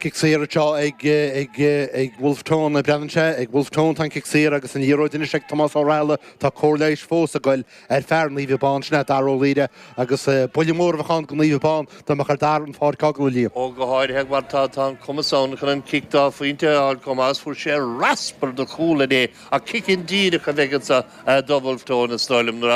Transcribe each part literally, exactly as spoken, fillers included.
Cic saor anseo ag ag ag Wolfe Tone breathnaíonn sé ag Wolfe Tone tá cic saor agus an liathróid anois ag Tomás Ó Raghallaigh tá cóir leighis fós ag goil ar fear Naomh Abán sin é Dara Ó Laoire agus buille mór a bheadh ann do Naomh Abán dá mbeadh ar Dara an pháirc a fhágáil a Liam. Ó go háirithe mar tá tá an cumas ann chun an cic dá phointe a fháil chomh maith fuair sé raspar de chúl inné ach cic indíreach a bheidh anseo do Wolfe Tone is dóigh liom nuair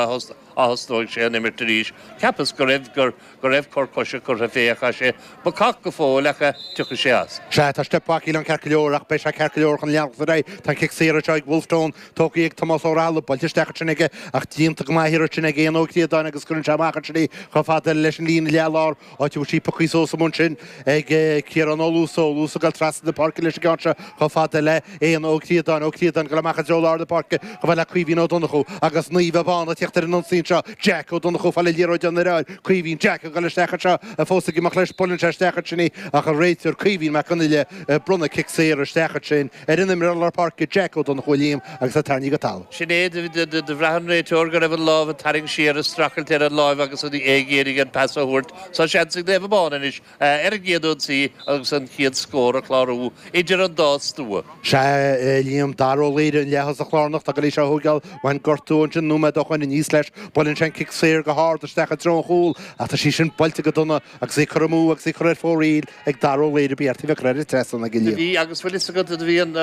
a thosnóidh sé an imirt arís. Cheapas go raibh gur go raibh cor coise curtha fé ach sé bacach go fóill ach tiocfaidh sé as. Sea tá step back an ceart go leor ach beidh sé ceart go leor chun leanacht ar aghaidh tá cic saor anseo ag Wolfe Tone tógtha ag Tomás Ó Raghallaigh buailte isteach sin aige ach déanta go maith sin ag Éanna Ó Críodáin agus cuireann sé amach sin í chomh fada leis an líne leathlár áit a bhfuil sí pioctha suas ansin ag Ciarán Ó Luasa Ó Luasa ag dul trasna na páirce leis an gceann seo chomh fada le Éanna Ó Críodáin Ó Críodáin go amach i dtreo lár na páirce chomh fada le Caoimhín Ó Donnchú agus Naomh Abán ag teacht ar an ionsaí seo Jack Ó Donnchú fá le liathróid an air Caoimhín Jack ag dul isteach anseo fós ag imeacht leis buaileann sé isteach ansin í ach an réiteoir Caoimhín Mac Conghail bronnadh cic saor isteach ansin ar an imreoir lár páirce Jack Ó Donnchú Liam agus a tarraingthe go talamh. Sin é do bhraith an réiteoir go raibh an lámh ag tarraingt siar ag streachailt ar an láimh agus an é ag iarraidh an pas a thabhairt so seans ag Naomh Abán anois ar an gcéad ionsaí agus an chéad scór a chlárú idir an dá stua. Sea Liam Dara Ó Laoire an leath-thosach lárnach tá go leis a thógáil bhain gortú ansin nóiméad ó shoin aníos leis buaileann sé an cic saor go hard isteach i dtreo an chúil ach tá sí sin buailte go dona agus í curtha amú agus í curtha ar fóraoil ag Dara Ó Laoire b'fhearr bheith curtha ar an trasnán ag Liam. Bhí agus bhfuil fhios agat bhí an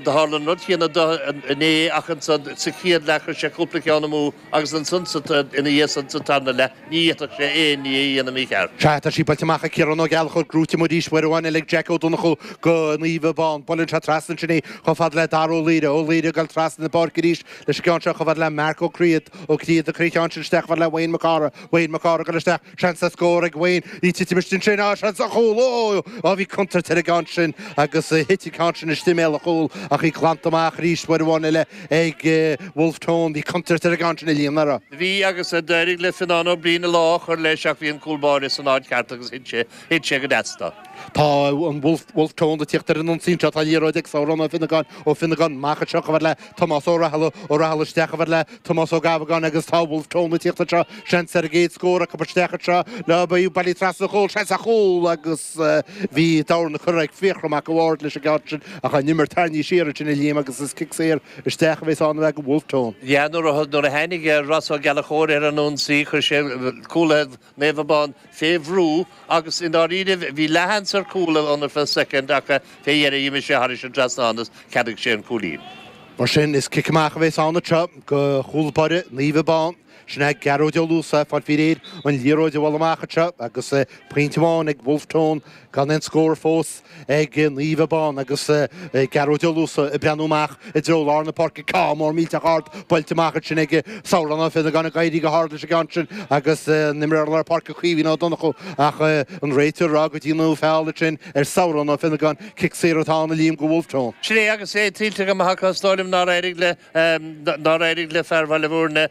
tharla an rud céanna inné ach ansan sa chéad leath chuir sé cúpla ceann amú agus ansan ina dhiaidh san sa tarna leath ní fhéadfadh sé aon ní a dhéanamh mícheart. Sea tá sí buailte amach ag Ciarán Ó Gallchóir gnóite arís uair amháin eile ag Jack Ó Donnchú go Naomh Abán buaileann sé trasna ansin í chomh fada le Dara Ó Laoire Ó Laoire ag dul trasna na páirce arís leis an gceann seo chomh fada le Mark Ó Críod Ó Críod ag cur an ceann sin isteach chomh fada le Wayne Mac Cárthaigh Wayne Mac Cárthaigh ag dul isteach seans le scór ag Wayne í titim ansin á seans a chúl ó á bhí contúirt ar an gceann sin agus thit an ceann sin istigh i mbéal an chúil ach í glanta amach arís uair amháin eile ag Wolfe Tone bhí contúirt ar an gceann sin a Liam nach raibh. Bhí agus d'éirigh le Fionnán Ó Briain a lá chur leis ach bhí an cúl báire san áit ceart agus thit sé thit sé go deas dó. Tá an Wolfe Wolfe Tone ag teacht ar an ionsaí seo tá liathróid ag Sabhrán Ó Finnegáin Ó Finnegáin amach anseo chomh fada le Tomás Ó Raghallaigh Ó Raghallaigh isteach chomh fada le Tomás Ó Gabhagáin agus tá Wolfe Tone ag teacht anseo seans ar an gcéad scór acu isteach anseo le bailí trasna chúl seans a chúl agus bhí dorn curtha ag Fiachra Mac an Bhaird leis an gceann sin ach an imirt tarraingthe siar ansin a Liam agus is cic saor isteach a bheas ann ag Wolfe Tone. Ja nuair nuair a tháinig Ross Ó Gallchóir ar an ionsaí chuir sé cúlaithe Naomh Abán fé bhrú agus i ndáiríre bhí leathsheans ar chúl ann ar feadh soicind ach fé dheireadh d'imigh sé thairis an trasnán agus cheadaigh sé an cúilín. Mar sin is cic amach a bheas ann anseo go chúl báire Naomh Abán. Sin é Gearóid Ó Luasa fáil faoi réir an liathróid a bhualadh amach anseo agus pointe amháin ag Wolfe Tone gan aon scór fós ag Naomh Abán agus Gearóid Ó Luasa ag breathnú amach i dtreo lár na páirce ceann mór millteach ard buailte amach ansin ag Sabhrán Ó Finnegáin ag éirí go hard leis an gceann sin agus an imreoir lár páirce Caoimhín Ó Donnchú ach an réiteoir ag rá go ndearnadh feall ansin ar Sabhrán Ó Finnegáin cic saor atá ann a Liam go Wolfe Tone. Sin é agus é tuillte go maith acu is dóigh liom nár éirigh le nár éirigh le fear Bhaile Bhúirne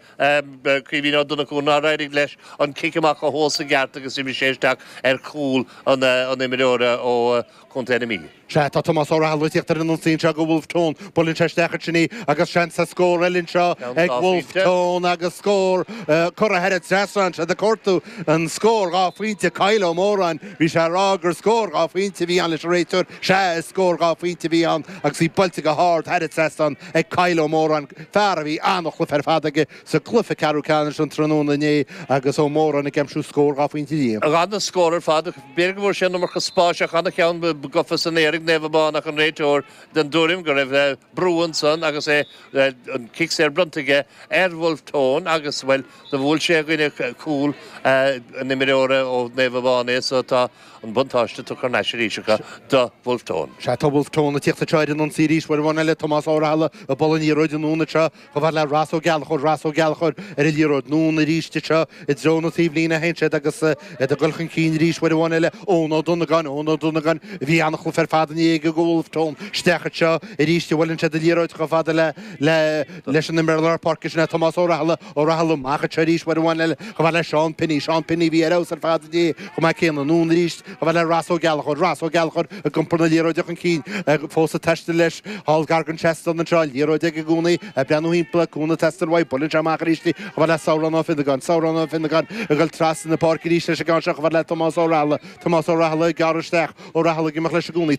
Caoimhín Ó Donnchú nár éirigh leis an cic amach a thomhas i gceart agus d'imigh sé isteach ar chúl an an imreora ó Chontae na Mí. Sea tá Tomás Ó Raghallaigh ag teacht ar an ionsaí anseo go Wolfe Tone buaileann sé isteach ansin í agus seans sa scór eile anseo ag Wolfe Tone agus scór curtha thar an trasnán sé ag cuartú an scór dhá phointe Kyle Ó Móráin bhí sé ag rá gur scór dhá phointe a bhí ann leis an réiteoir sea is scór dhá phointe a bhí ann agus í buailte go hard thar an trasnán ag Kyle Ó Móráin fear a bhí an-chluiche ar fad aige sa gcluiche ceathrú ceannais an tráthnóna inné agus Ó Móráin ag aimsiú scór dhá phointe Liam. An-scór ar fad b'fhéidir go bhfuair sé an iomarca spáis ach an-cheann gofa san aer ag Naomh Abán ach an réiteoir den tuairim go raibh brú ansan agus é an cic saor bronnta aige ar Wolfe Tone agus well do bhuail sé dhuine cúl an imreora ó Naomh Abán é so tá an buntáiste tugtha thar n-ais arís acu do Wolfe Tone. Sea tá Wolfe Tone ag teacht anseo ar an ionsaí arís uair amháin eile Tomás Ó Raghallaigh ag bualadh an liathróid anonn anseo chomh fada le Ross Ó Gallchóir Ross Ó Gallchóir ar an liathróid anonn arís anseo i dtreo na taobhlíne a théann siad agus iad ag dul chun cinn arís uair amháin eile Eoin Ó Donnagáin Eoin Ó Donnagáin bhí an-chluiche ar fad inné aige go Wolfe Tone isteach anseo arís a bhuaileann siad an liathróid chomh fada le le leis an imreoir lár páirce sin é Tomás Ó Raghallaigh Ó Raghallaigh amach anseo arís uair amháin eile chomh fada le Seán Pinney Seán Pinney bhí ar fheabhas ar fad inné chomh maith céanna anonn arís chomh fada le Ross Ó Gallchóir Ross Ó Gallchóir ag iompar na liathróide chun cinn fós ag taisteal leis thall gar don trasnán anseo liathróid ag i gcónaí ag breathnú timpeall cúnamh ag teastáil uaidh buaileann sé amach arís chomh fada fhad le Sabhrán Ó Fionnagáin, Sabhrán Ó Fionnagáin ag dul trasna na páirce arís leis an gceann seo chomh fada le Tomás Ó Rathaille, Tomás Ó Rathaille ag gearradh isteach, Ó Rathaille ag imeacht leis i gcónaí.